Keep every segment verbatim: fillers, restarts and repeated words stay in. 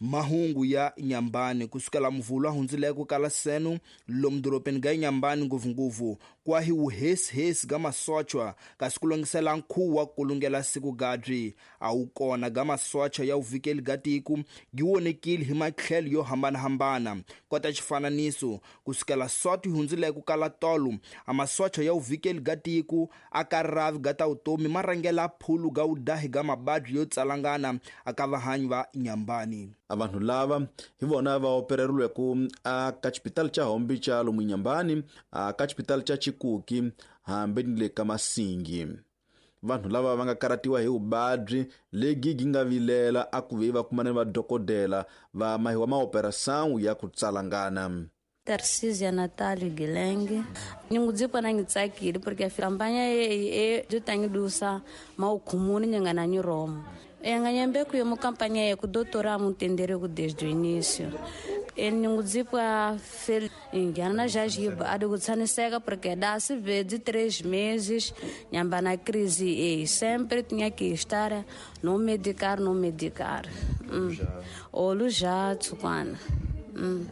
Mahungu ya Inhambane kusukela mvula hundzileko kala seno lomu dorobeni ga Inhambane ngopfungopfu kwa hi wuhesihesi ga masochwa kasi ku longisela nkhuvo wa ku lungela siku gadri a wu kona ga masocha ya vuvikeli ga tiko gi wonekile hi matlhelo yo hambanahambana kota xifananiso kusukela soti hundzileko kala tolo a masocha ya vuvikeli ga tiko a ka ravi ga ta vutomi ma rhangela phulu ga wudahi ga mabadyi yo tsalangana aka vahanyi va Inhambane. Abantu lava hi vona va opereriweke a ka xipitali xa Hombi xa lomu Inhambane a ka xipitali xa Chikuki hambi ni le ka Masingi. Vanhu lava va nga karatiwa hi vuvabyi lebyi gi nga vilela a ku ve va kumana ni vadokodela va mahiwa maoperação ya ku tsalangana. Tarcísia Natália Guilherme. Ningudzipa na ngitsakile porque a campanha e e dutangidusa maukhumuni nyangana ni Roma. Enganyembe ku yo campanha e ku doutora mutendere ku desde o início. E ningudzipa fel ingana já jiba a do tsaniseka porque dá se vê de três meses nyamba na crise e sempre tinha que estar no medicar no medicar. Mm. Olu já tsukwana. Mm.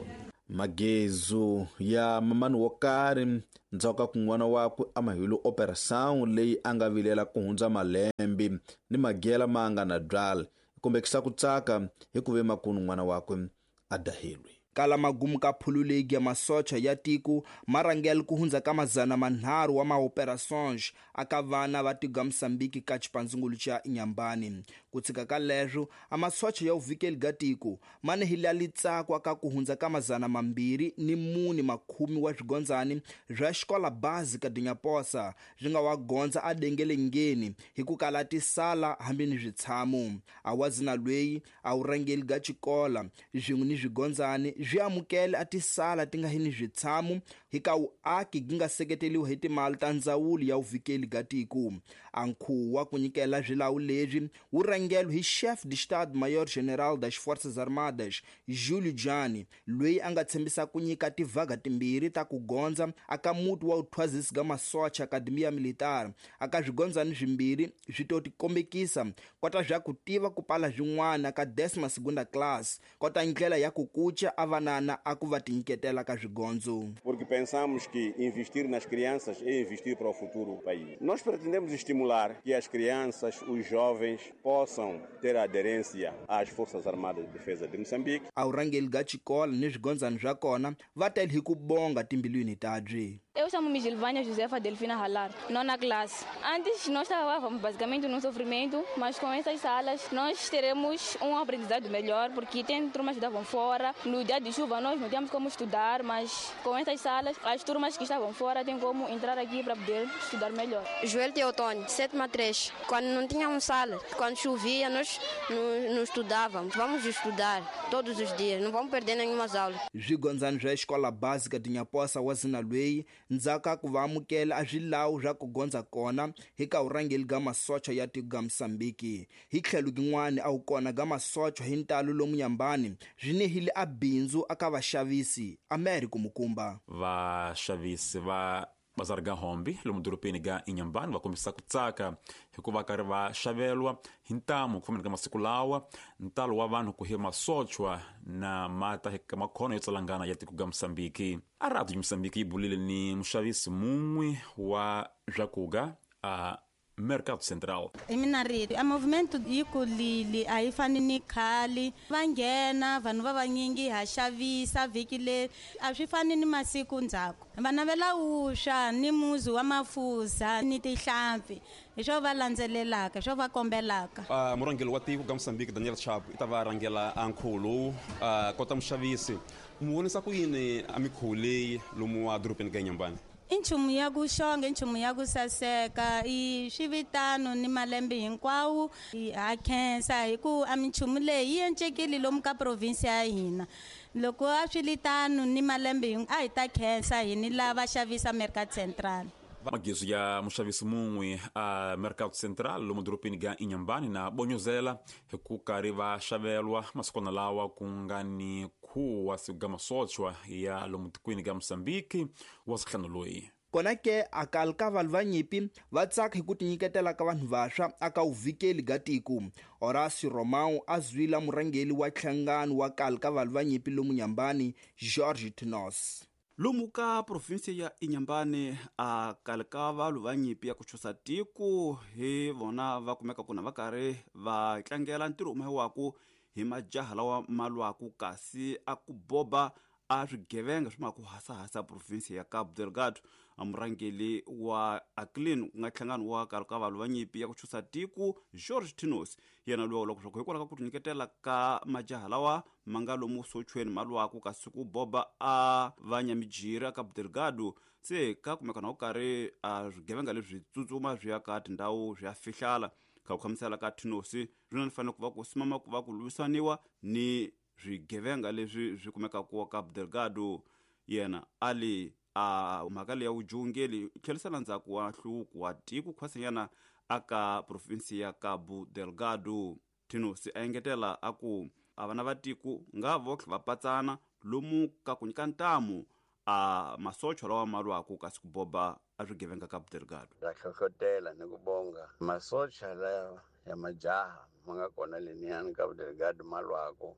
Magezu ya mamani wo karhi ndzhaku ka kun'wana wakwe a mahilo operação leyi a nga vilela ku hundza malembe ni magela ma nga na byala kombekisa ku tsaka hi ku ve makunu n'wana wakwe a dahilwe. Kala magumu ka phululegi ya masocha ya tiko ma rhangela ku hundza ka mazana manharhu wa maoperações aka vana va tiko ga Moçambique ka xipandzungulu xa Inhambane. Ku tshika ka leswo a masocha ya vuvikeli ga tiko ma nehile litsako aka ku hundza ka mazana mambirhi ni mune makhumi wa swigondzani swa xikola básica de Nhaposa swi nga wa gondza a dengelengeni hi ku kala tisala hambi ni switshamo. A wazina lweyi a wu rhangeli ga xikola swin'we ni swigondzani swi amukele a tisala ti nga hi ni switshamo hi ka vuaki gi nga seketeliwa hi timali ta ndzawulo ya vuvikeli ga tiko. A nkhuvo wa ku nyikela swilawu leswi wu rhangeliwe hi chef de Estado-Maior General das Forças Armadas Júlio Jani loyi a nga tshembisa ku nyika tivaga timbirhi ta ku gondza aka muti wa vuthwazisi ga masocha Academia Militar aka swigondzani swimbirhi swi to tikombekisa kota swa ku tiva ku pala swin'wana ka décima segunda class kota ndlela ya ku kuca a vanana a ku va tinyiketela ka swigondzo. Porque pensamos que investir nas crianças é investir para o futuro do país. Nós pretendemos estimular que as crianças, os jovens possam ter aderência às Forças Armadas de Defesa de Moçambique. A vurhangeli ga xikolo ni swigondzani swa kona va tele hi ku bonga timbilwini tabyi. Eu chamo-me Gilvânia Josefa Delfina Halar, nona classe. Antes nós estávamos basicamente num sofrimento, mas com essas salas nós teremos um aprendizado melhor, porque tem turmas que estavam fora. No dia de chuva nós não tínhamos como estudar, mas com essas salas as turmas que estavam fora têm como entrar aqui para poder estudar melhor. Joel Teotônio, sétima três. Quando não tínhamos sala, quando chovia nós não, não estudávamos. Vamos estudar todos os dias, não vamos perder nenhuma aula. Swigondzani swa xikola básica de Nhaposa wa zina lweyi ndzhaku ka ku va amukela a swilawu swa ku gondza kona hi ka vurhangeli ga masocha ya tiko ga Moçambique. Hi tlhelo gin'wana a wu kona ga masocha hi ntalo lomu Inhambane swi nehile a bindzu aka vaxavisi Americo Mukumba. Vaxavisi va bazar ga Hombi lomu dorobeni ga Inhambane va kombisa ku tsaka hikuva karhi va xavelwa hi ntamu ku fambeni ka masiku lawa ntalo wa vanhu ku hi masochwa na mata hi ka makhono yo tsalangana ya tiko ga Moçambique. A radio Moçambique yi bulile ni muxavisi mun'we wa swakuga a Mercado Central. I mina rito a movimento yi kulile a yi fani ni khale va nghena vanhu va vanyingi ha xavisa vhiki leri a swi fani ni masiku ndzhaku va navela wuswa ni muzi wa mafuza ni tihlampfi hi swo va landzelelaka hi swo va kombelaka. Uh, murhangeri wa tiko ga Moçambique Daniel Chapo i ta va rhangela a nkhuvo lowu uh, kota muxavisi mu vonisa ku yini a mikhuvo leyi lomu wa dorobeni ga Inhambane? I nchumu ya ku xonga i nchumu ya ku saseka i swivitano ni malembe hinkwawo ha khensa hi ku a minchumu leyi yi encekile lomu ka province ya hina loko a swi li tano ni malembe a hi ta khensa hi ni lava xavisa Mercado Central. Magezu ya muxavisi mun'we a Mercado Central lomu dorobeni ga Inhambane na bonyozela hi ku karhi va xavelwa masikwana lawa ku nga ni khuwa siku ga masochwa ya lomu tikweni ga Moçambique wa sihlanu loyi. Kona ke akal ka vanhu va nyimpi va tsaka hi ku tinyiketela ka vanhu vantshwa aka uvikeli ga tiko. Horacio Romão a zwila murhangeri wa nhlangano wa kal ka vanhu va nyimpi lomu Nyambani, George Tinos. Lomu ka provinsi ya Inhambane a kale ka vanhu va nyimpi ya ku chusa tiko hi vona va kumeka kuna va karhi va tlangela ntirho humewaku hi majaha lawa ma lwaku kasi a ku boba a swigevenga swi ma ku hasahasa provinsi ya Cabo Delgado. A murhangeri wa Aclin ku nga nhlangano wa kale ka vanhu va nyimpi ya ku chusa tiko George Tinos yena loyi loko swa ku hikwalaho ka ku tinyiketela ka majaha lawa ma nga lomu sochweni ma lwaku kasi ku boba a vanyamijiri a Cabo Delgado se ka kumeka na ku karhi a swigevenga leswi tsutsuma swi ya ka tindhawu swi ya fihlala. Ka ku khamisela ka Tinos rina ni fanele ku va ku simama ku va ku lwisaniwa ni swigevenga leswi swi kumekaka Cabo Delgado. Yena ali a mhaka leyi ya vujungeli tlherisela ndzhaku wa nhluvuko wa tiko khwasanyana aka provinsi ya Cabo Delgado. Tinos a engetela a ku a vana va tiko nga votlhe va patsana lomu ka ku nyika ntamu a masocha lawa ma lwaku kasi ku boba a swigevenga Cabo Delgado. Ra hlohlotela ni ku bonga masocha lawa ya majaha ma nga kona leniyani Cabo Delgado ma lwaku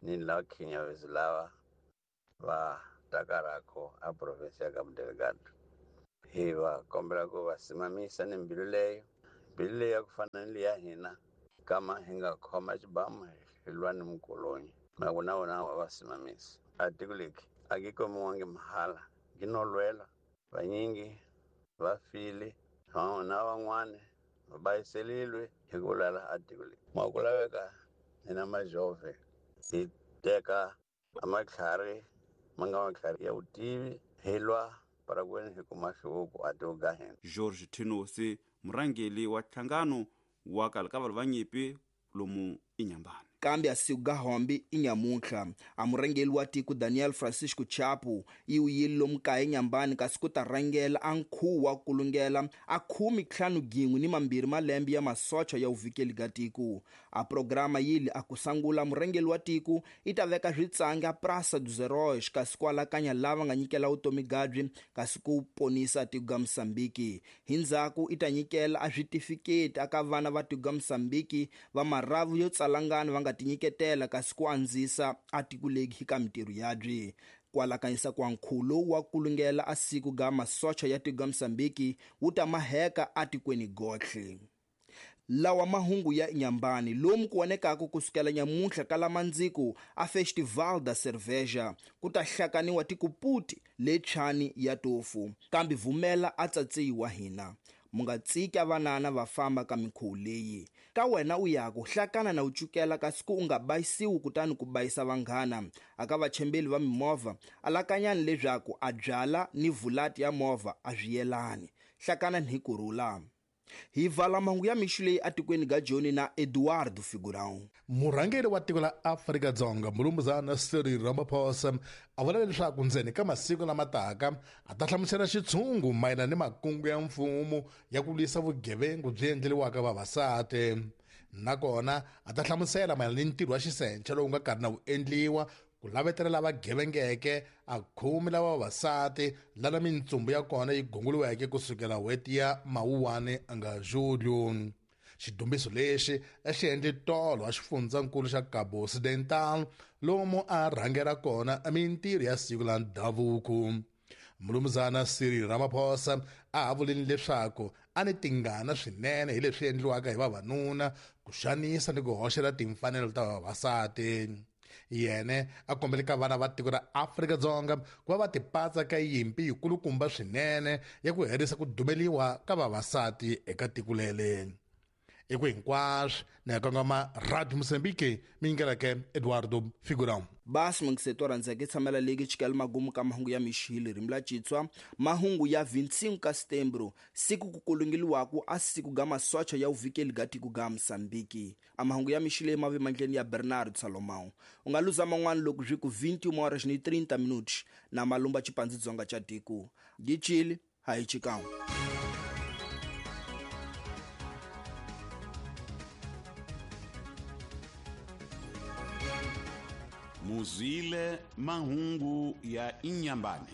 ni lawa khinyavezi lava va takarako a provinsi ya Cabo Delgado. Hi va kombela ku va simamisa ni mbilu leyo mbilu leyi ya ku fana ni leya hina kama hi nga khoma xibamu hi lwa ni mukolonyi na ku na vona va va simamisa. A tiko leki a ki komiwangi mahala ki no lwela vanyingi va file na van'wani va bayiselilwe hi ku lwela a tiko leki. Ma ku laveka hina majove hi teka a matlhari ma nga matlhari ya vutivi hi lwa parakweni hi kuma nhluvuko a tiko ga hina. George Tinos murhangeri wa nhlangano wa kale ka vanhu va nyimpi lomu Inhambane. Kambe a siku ga hombi inyamuntlha a murhangeri wa tiko Daniel Francisco Chapo yi wuyile lomu kaya Inhambane kasi ku ta rhangela a nkhuvo wa kulungela a khume ntlhanu gin'we ni mambirhi malembe ya masocha ya uvikeli ga tiko. A programa yili a ku sangula murhangeri wa tiko i ta veka switsangi a Praça dos Heróis kasi ku alakanya lava nga nyikela vutomi gabyi kasi ku ponisa tiko ga Mozambique. Hi ndzhaku i ta nyikela a switifiketi aka vana va tiko ga Mozambique va maravu yo tsalangana va nga tinyiketela kasi ku andzisa a tiko leki ka mintirho yabyi. Ku alakanyisa kwa nkhulo wa kulungela a siku ga masocha ya tiko ga Mozambique wu ta maheka atikweni gotlhe. Lawa mahungu ya Inhambane lomu ku vonekaka kusukela nyamuntlha ka lamandziko a Festival da Cerveja ku ta hlakaniwa tikuputi letshani ya tofu kambe vumela a tsatsiwa hina. Mu nga tsiki vanana va famba ka minkhuvo leyi. Ka wena u ya ku hlakana na u cukela kasi ku u nga bayisiwi kutani ku bayisa vanghana. Aka vachembeli va mimovha alakanyani leswaku a byala ni vulati ya movha a swi yelani. Hlakana ni kurhula. Hi vala mahungu ya mixo leyi atikweni ga Joni na Eduardo Figurão. Murhangeri wa tiko la Afrika-Dzonga Mulumuzana Cyril Ramaphosa a vula leswaku ndzeni ka masiku lama taka a ta hlamusela xitshungu mayelana ni makungu ya mfumo ya ku lwisa vugevenga byi endleriwaka vavasati. Nakona a ta hlamusela mayelana ni ntirho wa xisenche lowu nga karhi na wu endliwa ku lavetela lava gevengeke a khumi lava vavasati lana mintsumbu ya kona yi gunguriweke kusukela n'hweti ya Mawuwani nga Julio. Xidumbiso lexi a xi endle tolo a xifundzankulu xa Cabo Occidental lomu a rhangela kona mintirho ya siku la ndhavuko. Mulumuzana Cyril Ramaphosa a ha vulini leswaku a ni tingana swinene hi leswi endliwaka hi vavanuna ku xanisa ni ku hoxela timfanelo ta vavasati. Yene a kombele ka vana va tiko ra Afrika-Dzonga ku va va tipatsa ka yimpi yikulukumba swinene ya ku herisa ku dumeliwa ka vavasati eka tiko lele. I ku hinkwaswo ni ya kongoma Radio Mozambique mi yingeleke Eduardo Figurão. Basi mungiseto rhandzeke tshamela leki chikela magumu ka mahungu ya mixili ririmi la Xitswa mahungu ya vinte e cinco ka setembro siku ku kulungeliwaku a siku ga masocha ya uvikeli ga tiko ga Mozambique. A mahungu ya mixili ma ve mandleni ya Bernardo Salomão. U nga luza man'wana loko swi ku vinte e uma horas ni trinta minutos na malumba xipandzhi dzonga xa tiko. Gichili hayi chikao. Muzile mahungu ya Inhambane.